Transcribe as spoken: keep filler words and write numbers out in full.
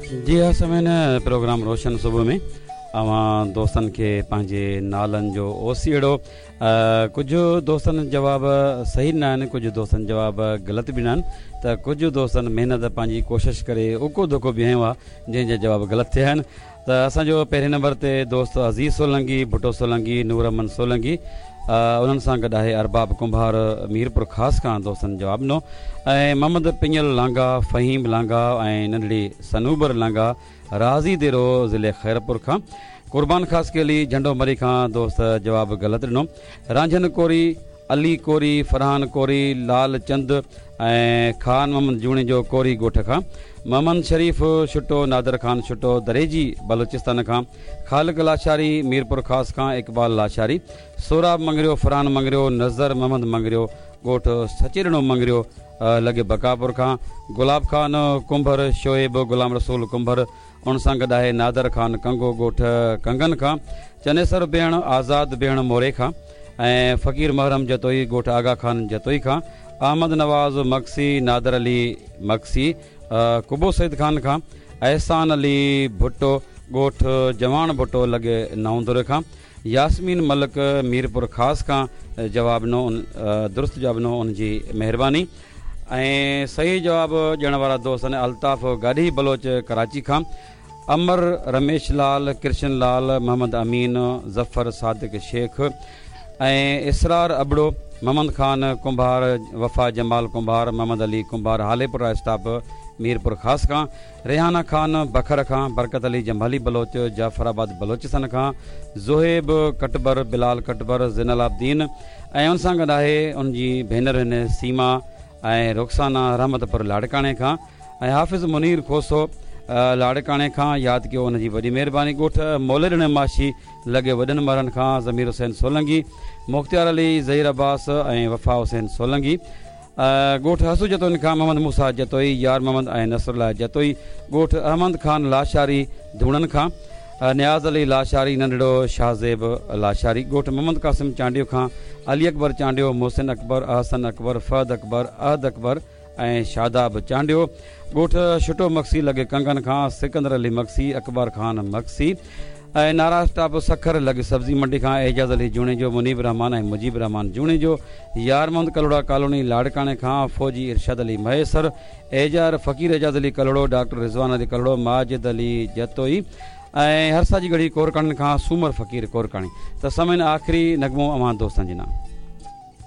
جي ها سامعين، پروگرام روشن صبح ۾ اوهان دوستن کي پنهنجي نالن جو اوسيئڙو. ڪجهه دوستن جواب صحيح ڏنا آهن، ڪجهه دوستن جواب غلط به ڏنا آهن، ته ڪجهه دوستن محنت پنهنجي ڪوشش ڪري اڪو ڌڪو به هنيو آهي، جنهن جا جواب غلط ٿيا آهن. ته اسان جو پهرين نمبر تي دوست عزيز سولنگي، ڀٽو سولنگي، نور احمد سولنگي، انهن سان گڏ آهي ارباب ڪنڀار ميرپور خاص کان دوستن جواب ڏنو، ۽ محمد پڃل لانگا، فهيم لانگا ۽ ننڍڙي صنوبر لانگا راضي ديرو ضلعي خيرپور کان، قربان خاصخيلي جهنڊو مري کان دوست جواب غلط ڏنو، رانجهن ڪوري، علي ڪوري، فرحان ڪوري، لال چند ۽ خان محمد جوڻيجو ڪوري ڳوٺ کان، محمد شريف ڇٽو، نادر خان ڇٽو دريجي بلوچستان کان، خالق لاشاري ميرپور خاص کان، اقبال لاشاري، سهراب مڱريو، فرحان مڱريو، نظر محمد مڱريو ڳوٺ سچيڏنو مڱريو لڳي بڪاپور کان، گلاب خان ڪنڀر، شعيب غلام رسول ڪنڀر، ان سان گڏ آهي نادر خان ڪنگو ڳوٺ ڪنگن کان، چنيسر بيهڻ، آزاد بيهڻ موري کان ۽ فقير محرم جتوئي ڳوٺ آغا خان جتوئي کان، احمد نواز مگسي، نادر علي مگسي قبو سيد خان کان، احسان علي ڀٽو ڳوٺ جواڻ ڀٽو لڳي نئون دري کان، ياسمين ملڪ ميرپور خاص کان جواب ڏنو، درست جواب ڏنو، ان جي مهرباني. ۽ صحيح جواب ڏيڻ وارا دوست آهن الطاف گاڏهي بلوچ ڪراچي کان، امر رميش لال، ڪرشن لال، محمد امين، ظفر صادق شيخ ۽ اسرار ابڙو، محمد خان ڪنڀار، وفا جمال ڪنڀار، محمد علي ڪنڀار هاليپور اسٽاپ ميرپور خاص کان، ريحانه خان بکر کان، برڪت علي جمالي بلوچ جعفر آباد بلوچستان کان، زهيب ڪٽبر، بلال ڪٽبر، زين العابدين ۽ ان سان گڏ آهي ان جي ڀينر هن سيما ۽ رخسانه رحمت پور لاڙڪاڻي کان ۽ حافظ منير کوسو لاڙڪاڻي کان. ياد ڪيو ان جي وڏي مهرباني. ڳوٺ موليڏني ماشي لڳي وڏن مرن کان ضمير حسين سولنگي، مختيار علي، ظهير عباس ۽ وفا حسين سولنگي. ڳوٺ حسو جتوئين کان محمد موسيٰ جتوئي، يار محمد ۽ نصر الله جتوئي. ڳوٺ احمد خان لاشاري ڌوڻن کان نياز علي لاشاري، ننڍڙو شاهزيب لاشاري. ڳوٺ محمد قاسم چانڊيو کان علي اڪبر چانڊيو، محسن اڪبر، احسن اڪبر، فهد اڪبر، احد اڪبر ۽ شاداب چانڊيو. ڳوٺ ڇٽو مگسي لڳي ڪنگن کان سڪندر علي مگسي، اڪبر خان مگسي ۽ نارا اسٽاپ سکر لڳ سبزي منڊي کان اعجاز علي جوڻيجو، منيب رحمان ۽ مجيب رحمان جوڻيجو. يار محمد ڪلهوڙا ڪالوني لاڙڪاڻي کان فوجي ارشاد علي مهيسر، ايجار فقير اعجاز علي ڪلهوڙو، ڊاڪٽر رضوان علي ڪلهوڙو، ماجد علي جتوئي ۽ هرسا جي ڳڙهي ڪورڪاڻين کان سومر فقير ڪورڪاڻي. ته سامعين آخري نغمو اوهان دوستن جي نام.